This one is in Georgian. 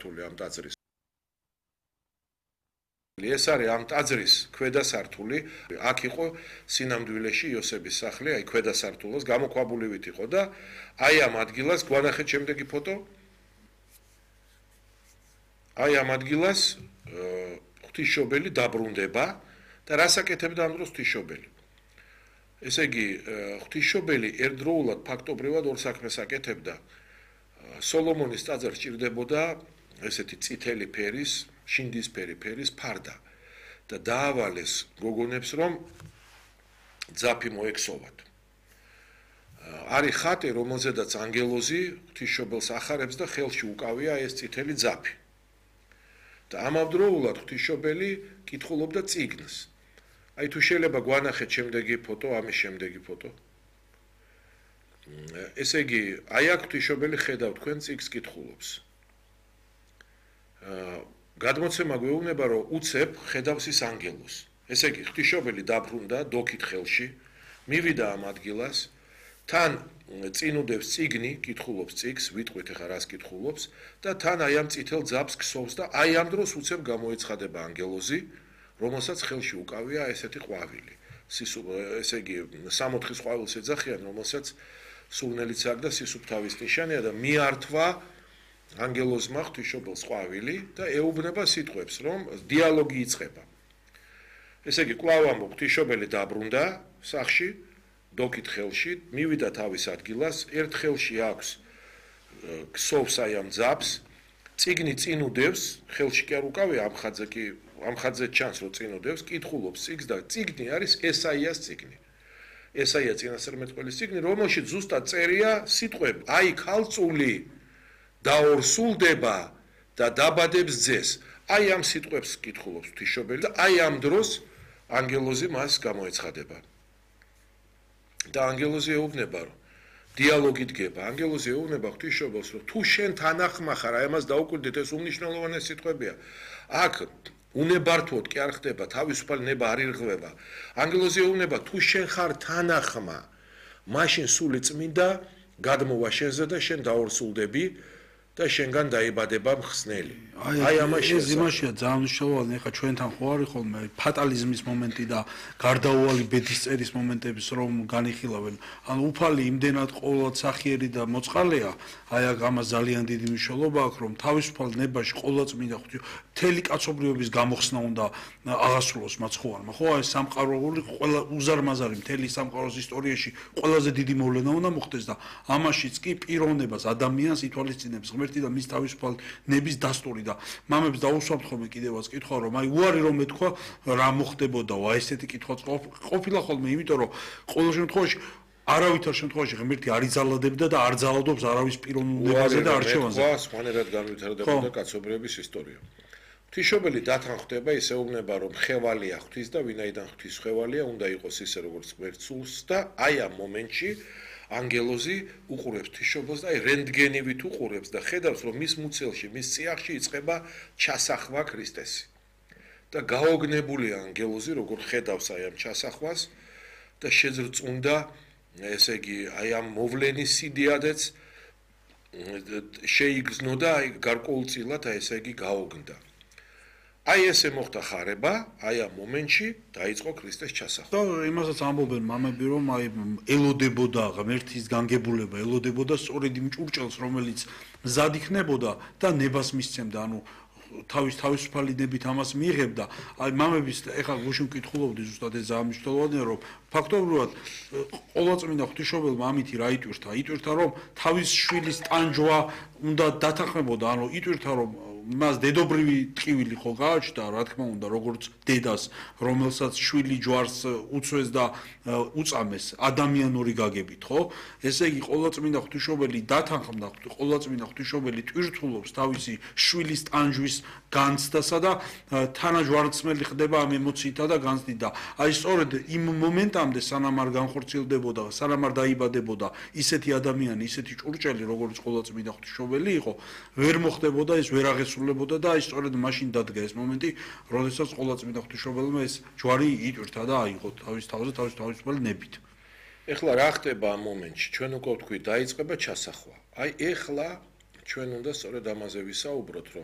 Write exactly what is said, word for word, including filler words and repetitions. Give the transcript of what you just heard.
სართული ამ ტაძრის. ეს არის ამ ტაძრის ქვედა სართული. აქ იყო სინამდვილეში იოსების სახლი, აი ქვედა სართულს გამოქვაბულივით იყო და აი ამ ადგილას გვანახეთ შემდეგი ფოტო. აი ამ ადგილას ღვთისმშობელი დაბრუნდება და რას აკეთებდა ამ დროს ღვთისმშობელი? ესე იგი, ღვთისმშობელი ერთდროულად ფაქტობრივად ორ საქმეს აკეთებდა. სოლომონის ტაძარს ჭირდებოდა ესეთი წითელი ფერის, შინდისფერი ფერის ფარდა და დაავალეს გოგონებს, რომ ძაფი მოექსოვათ. არის ხატი, რომელზედაც ანგელოზი ღვთისმშობელს ახარებს და ხელში უკავია ეს წითელი ძაფი. და ამავდროულად ღვთისმშობელი კითხულობდა წიგნს. აი თუ შეიძლება გვანახეთ შემდეგი ფოტო, ამის შემდეგი ფოტო. ესე იგი, აი აქ ღვთისმშობელი ხედავ თქვენ წიგნს კითხულობს. გადმოცემა გვეუბნება, რომ უცებ ხედავს ის ანგელოზს. ესე იგი, ღვთისმშობელი დაბრუნდა დოქით ხელში, მივიდა ამ ადგილას, თან წინუდებს წიგნი, კითხულობს წიგნს, ვიტყვით ახლა რას კითხულობს და თან აი ამ წითელ ძაფს ქსოვს და აი ამ დროს უცებ გამოეცხადება ანგელოზი, რომელსაც ხელში უკავია ესეთი ყვავილი. ესე იგი, სამოთხის ყვავილს ეძახიან, რომელსაც სულნელიც აქვს და სისუფთავის ნიშანია და მიართვა ანგელოზმა ღვთისმშობელს ყვავილი და ეუბნება სიტყვებს, რომ დიალოგი იწყება. ესე იგი, კვლავ ამბობ, ღვთისმშობელი დაბრუნდა სახლში, დოქით ხელში, მივიდა თავის ადგილას, ერთ ხელში აქვს ქსოვს აი ამ ძაფს, წიგნი წინუდევს, ხელში კი არ უკავია ამ ხაძე კი, ამ ხაძე ჩანს, რომ წინუდევს, კითხულობს წიგნს და წიგნი არის ესაიას წიგნი. ესაია წინასწარმეტყველის წიგნი, რომელშიც ზუსტად წერია სიტყვები, აი ქალწული დაორსულდება და დაბადებს ძეს. აი ამ სიტყვებს კითხულობს ღვთისმშობელი და აი ამ დროს ანგელოზი მას გამოეცხადება. და ანგელოზი ეუბნება, რომ დიალოგი დგება. ანგელოზი ეუბნება ღვთისმშობელს, რომ თუ შენ თანახმა ხარ, აი ამას დაუკვირდით, ეს უმნიშვნელოვანესი სიტყვებია. აქ უნებართვოდ კი არ ხდება, თავისუფალი ნება არ ირღვევა. ანგელოზი ეუბნება, თუ შენ ხარ თანახმა, მაშინ სული წმინდა გადმოვა შენზე და შენ დაორსულდები და შენგან დაიბადება მხსნელი. აი ამაში ეს იმაშია ძალიან მნიშვნელოვანი, ხა ჩვენთან ხო არის ხოლმე ფატალიზმის მომენტი და გარდაუვალი ბედისწერის მომენტების რომ განიხილავენ. ანუ უფალი იმდენად ყოველად სახიერი და მოწყალეა, აი აქ ამას ძალიან დიდი მნიშვნელობა აქვს, რომ თავისუფალ ნებაში ყოვლადწმინდა ღვთი მთელი კაცობრიობის გამოხსნა უნდა აღასრულოს მაცხოვარმა. ხო, აი სამყაროული ყველა უზარმაზარი მთელი სამყაროს ისტორიაში ყველაზე დიდი მოვლენა უნდა მოხდეს და ამაშიც კი პიროვნებას, ადამიანს ითვალისწინებს ღმერთი და მის თავისუფალ ნების დასტური და მამებს დაუსვამთ ხოლმე კიდევაც კითხვა, რომ აი უარი რომ ეთქვა რა მოხდებოდაო, აი ესეთი კითხვაც ყოფილა ხოლმე, იმიტომ რომ ყოველ შემთხვევაში არავითარ შემთხვევაში ღმერთი არ იძალადებდა და არ ძალადობს არავის პიროვნებაზე და არჩევანზე. უარი სხვანაირად განვითარდებოდა კაცობრიობის ისტორია. ღვთისმშობელი დათანხმდება, ისეუბნება, რომ ხევალია ღვთის და ვინაიდან ღვთის ხევალია, უნდა იყოს ისე როგორც ღმერთს სულს და აი ამ მომენტში ანგელოზი უყურებს ღვთისმშობელს და აი რენტგენივით უყურებს და ხედავს, რომ მის მუცელში, მის წიაღში იწყება ჩასახვა ქრისტესი. და გაოგნებულია ანგელოზი, როგორ ხედავს აი ამ ჩასახვას და შეძრწუნდა, ესე იგი, აი ამ მოვლენის სიდიადეც შეიგრძნო და აი გარკვეულწილად აი ესე იგი გაოგნდა. აი ესე მოხდა ხარება, აი ამ მომენტში დაიწყო ქრისტეს ჩასახვა. და იმასაც ამბობენ მამები, რომ აი ელოდებოდა ღმერთის განგებულება, ელოდებოდა სწორედ იმ ჭურჭელს, რომელიც მზად იქნებოდა და ნებას მისცემდა, ანუ თავის თავისუფალი ნებით ამას მიიღებდა. აი მამების ეხლა გუშინ ვკითხულობდი ზუსტად ეს ძალიან მნიშვნელოვანია, რომ ფაქტობრივად ყოვლადწმინდა ღვთისმშობელმა ამითი რა იტვირთა? იტვირთა, რომ თავის შვილის ტანჯვა უნდა დათანხმებოდა, ანუ იტვირთა, რომ მას დედობრივი ტკივილი ხო გააჩნდა, რა თქმა უნდა, როგორც დედას, რომელსაც შვილი ჯვარს უწვეს და უწამეს ადამიანური გაგებით, ხო? ესე იგი, ყოვლადწმინდა ღვთისმშობელი დათანხმდა, ყოვლადწმინდა ღვთისმშობელი ტვირთულობს თავისი შვილის ტანჯვის განცდასა და თანაჯვარცმელი ხდება ამ ემოციითა და განცდით და აი სწორედ იმ მომენტამდე, სანამ არ განხორციელდებოდა, სანამ არ დაიბადებოდა ისეთი ადამიანი, ისეთი ჭურჭელი, როგორც ყოვლადწმინდა ღვთისმშობელი იყო, ვერ მოხდებოდა ეს, ვერ აღესრულებოდა და აი სწორედ მაშინ დადგა ეს მომენტი, როდესაც ყოვლადწმინდა ღვთისმშობელმა ეს ჯვარი იტვირთა და აიღო თავის თავზე თავის თავისუფალი ნებით. ეხლა რა ხდება ამ მომენტში? ჩვენ უკვე ვთქვით, დაიწყება ჩასახვა. აი ეხლა ჩვენ უნდა სწორედ ამაზე ვისაუბროთ, რომ